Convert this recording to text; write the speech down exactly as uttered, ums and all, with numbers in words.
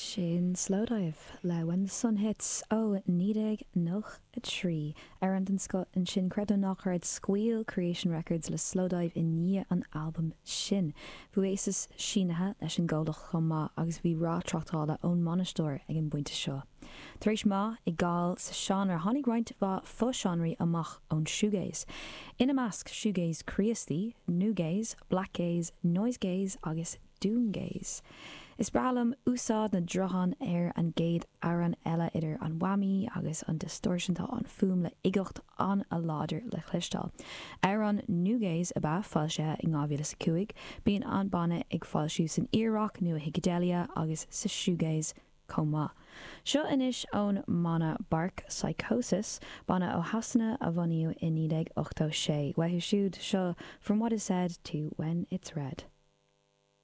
Sin Slowdive le When the Sun Hits ó naoi déag nócha a trí. Amhrán den scoth ansin, creid é nó ná creid, scaoil Creation Records le Slowdive i ndiaidh an albaim sin. Bhí Oasis sínithe leis an gcomhlacht chomh maith agus bhí rath tráchtála ón mbainisteoir ag an bpointe seo. Tar éis meath i gcáil sa seánra tháinig roinnt mhaith fo-seánraí amach ón shoegaze. Ina measc shoegaze Críostaí, nu-gaze, blackgaze, noisegaze agus doomgaze. Is breá liom úsáid na dtroitheán ar an gcéad amhrán eile idir an whammy agus an distortion tá an fuaim le uigeacht an-láidir le cloisteáil. Amhrán nu-gaze ab ea foilsithe in dhá mhíle is a cúig. Bíonn an banna ag foilsiú san iar-rock nua-shiceideilía agus sa shoegaze chomh maith. Seo anois ón mbanna Bark Psychosis, banna ó Shasana a bunaíodh i naoi déag ochtó sé. Uathu siúd seo From What Is Said to When It's Read.